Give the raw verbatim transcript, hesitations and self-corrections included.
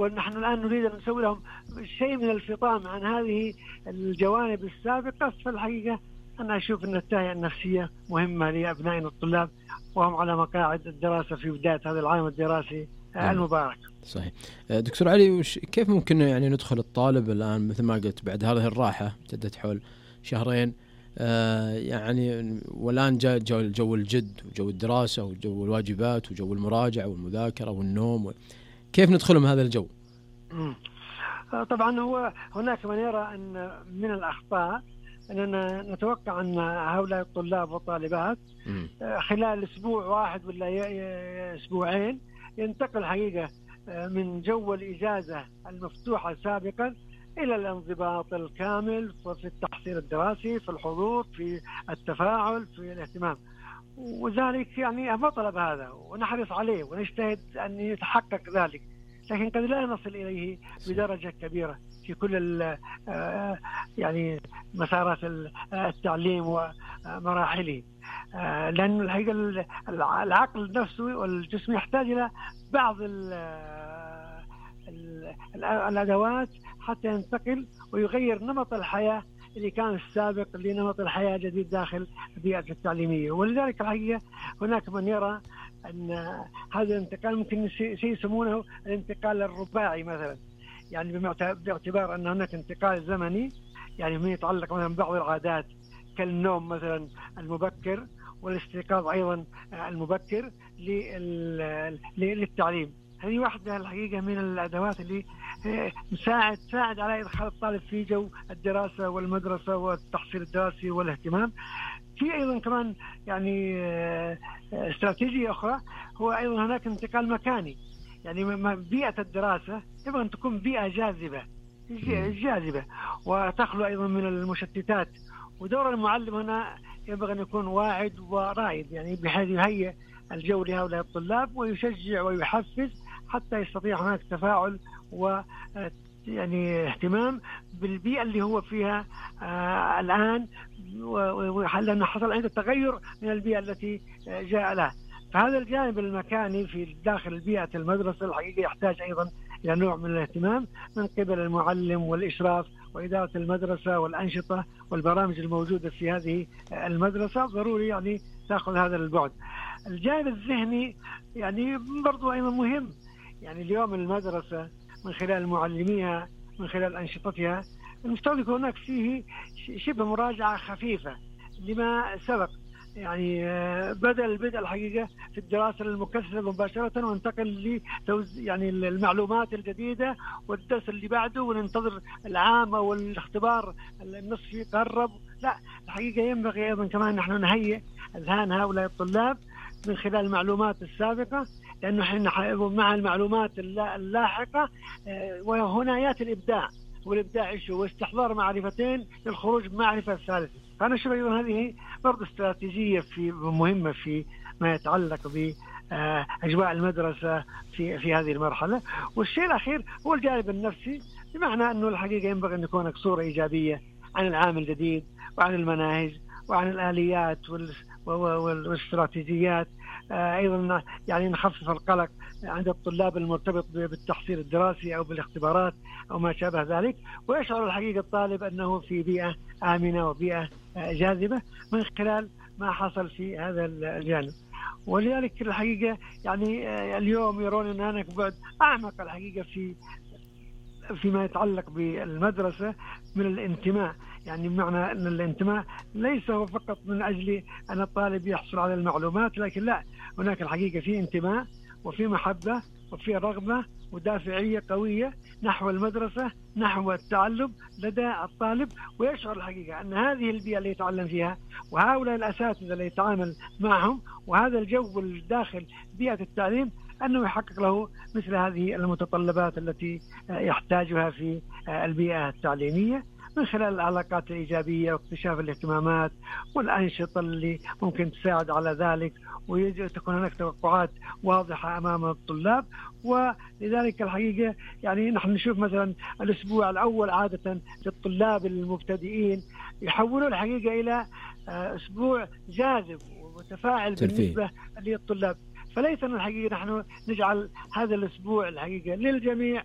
ونحن الآن نريد أن نسوي لهم شيء من الفطام عن هذه الجوانب السابقة. فالحقيقة أنا أشوف أن التهيئة النفسية مهمة لأبنائنا الطلاب وهم على مقاعد الدراسة في بداية هذا العام الدراسي المبارك. صحيح. دكتور علي، كيف ممكن يعني ندخل الطالب الآن مثل ما قلت بعد هذه الراحة ابتدت حول شهرين آه يعني، والآن جاء جو, جو الجد وجو الدراسة وجو الواجبات وجو المراجعة والمذاكرة والنوم و... كيف ندخلهم هذا الجو؟ طبعا هو هناك من يرى أن من الأخطاء أننا نتوقع أن هؤلاء الطلاب والطالبات خلال أسبوع واحد ولا أسبوعين ينتقل حقيقة من جو الإجازة المفتوحة سابقا إلى الانضباط الكامل في التحصيل الدراسي، في الحضور، في التفاعل، في الاهتمام. وذلك يعني مطلب هذا ونحرص عليه ونجتهد أن يتحقق ذلك، لكن قد لا نصل إليه بدرجة كبيرة في كل يعني مسارات التعليم ومراحله، لأن الحقيقة العقل نفسه والجسم يحتاج إلى بعض الأدوات حتى ينتقل ويغير نمط الحياة اللي كان السابق لنمط الحياة الجديد داخل البيئة التعليمية. ولذلك الحقيقة هناك من يرى أن هذا الانتقال ممكن شيء يسمونه الانتقال الرباعي مثلا، يعني باعتبار أن هناك انتقال زمني يعني ما يتعلق مثلا ببعض العادات كالنوم مثلا المبكر والاستيقاظ أيضا المبكر للتعليم. هذه واحدة الحقيقة من الأدوات اللي مساعد تساعد على إدخال الطالب في جو الدراسة والمدرسة والتحصيل الدراسي والاهتمام. في أيضا كمان يعني استراتيجية أخرى، هو أيضا هناك انتقال مكاني، يعني بيئة الدراسة يبغى أن تكون بيئة جاذبة جاذبة وتخلو أيضا من المشتتات، ودور المعلم هنا ينبغي أن يكون واعد ورائد، يعني بحيث يهيئ الجو لهؤلاء الطلاب ويشجع ويحفز حتى يستطيع هناك تفاعل و يعني اهتمام بالبيئة اللي هو فيها آه الآن، لأنه حصل عنده تغير من البيئة التي جاء لها. فهذا الجانب المكاني في داخل بيئة المدرسة الحقيقة يحتاج أيضا إلى نوع من الاهتمام من قبل المعلم والإشراف وإدارة المدرسة والأنشطة والبرامج الموجودة في هذه المدرسة. ضروري يعني تأخذ هذا البعد. الجانب الذهني يعني برضو أيضا مهم، يعني اليوم المدرسة من خلال معلميها من خلال أنشطتها المفترض يكون هناك فيه شبه مراجعة خفيفة لما سبق، يعني بدل البدء الحقيقة في الدراسة المكثفة مباشرة وانتقل لتوز يعني المعلومات الجديدة والدرس اللي بعده وننتظر العام أو الاختبار النصفي قرب. لا، الحقيقة ينبغي أيضا كمان نحن نهيئ أذهان هؤلاء الطلاب من خلال المعلومات السابقة، لأنه احنا مع المعلومات اللاحقة وهنا يأتي الإبداع، والإبداع إيش هو؟ استحضار معرفتين للخروج بمعرفة الثالثة. فأنا أشوف أيضا هذه برضه استراتيجية في مهمة في ما يتعلق بأجواء المدرسة في في هذه المرحلة. والشيء الأخير هو الجانب النفسي، بمعنى أنه الحقيقة ينبغي أن يكون صورة إيجابية عن العام الجديد وعن المناهج وعن الآليات والاستراتيجيات. أيضا يعني نخفف القلق عند الطلاب المرتبط بالتحصيل الدراسي أو بالاختبارات أو ما شابه ذلك، ويشعر الحقيقة الطالب أنه في بيئة آمنة وبيئة جاذبة من خلال ما حصل في هذا الجانب. ولذلك الحقيقة يعني اليوم يرون أن هناك بعد أعمق الحقيقة في فيما يتعلق بالمدرسة من الانتماء، يعني بمعنى أن الانتماء ليس هو فقط من أجل أن الطالب يحصل على المعلومات، لكن لا، هناك الحقيقة في انتماء وفي محبة وفي رغبة ودافعية قوية نحو المدرسة نحو التعلم لدى الطالب، ويشعر الحقيقة أن هذه البيئة اللي يتعلم فيها وهؤلاء الأساتذة اللي يتعامل معهم وهذا الجو الداخل بيئة التعليم أنه يحقق له مثل هذه المتطلبات التي يحتاجها في البيئة التعليمية من خلال العلاقات الإيجابية واكتشاف الاهتمامات والأنشطة اللي ممكن تساعد على ذلك، وتكون هناك توقعات واضحة أمام الطلاب. ولذلك الحقيقة يعني نحن نشوف مثلا الأسبوع الأول عادة للطلاب المبتدئين يحولوا الحقيقة إلى أسبوع جاذب ومتفاعل بالنسبة للطلاب. فليس الحقيقة نحن نجعل هذا الأسبوع الحقيقة للجميع